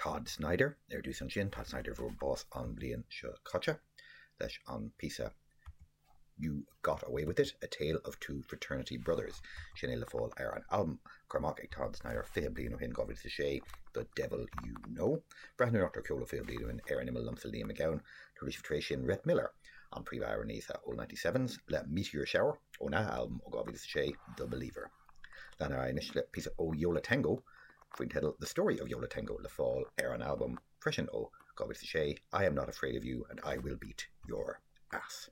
Todd Snider ar dtús ansin, Todd Snider a fuair bás an bhliain seo caite, leis an píosa You Got Away With It, A Tale of Two Fraternity Brothers. Sin é le fáil ar an albam curtha amach ag Todd Snider 20 bliain ó shin, 2006, The Devil You Know. Breathnú anocht ar cheol ó 20 bliain ó shin ar an imeall liomsa Liam Mac Gabhann. Tabharfaidh sibh tar éis sin Rhett Miller, an príomhamhránaí sa Old 97s le Meteor Shower óna albam ó 2006, The Believer. Lean ar aghaidh anois le píosa ó Yo La Tengo faoin teideal The Story of Yo La Tengo le fáil ar an albam freisin ó 2006, I Am Not Afraid of You and I Will Beat Your Ass.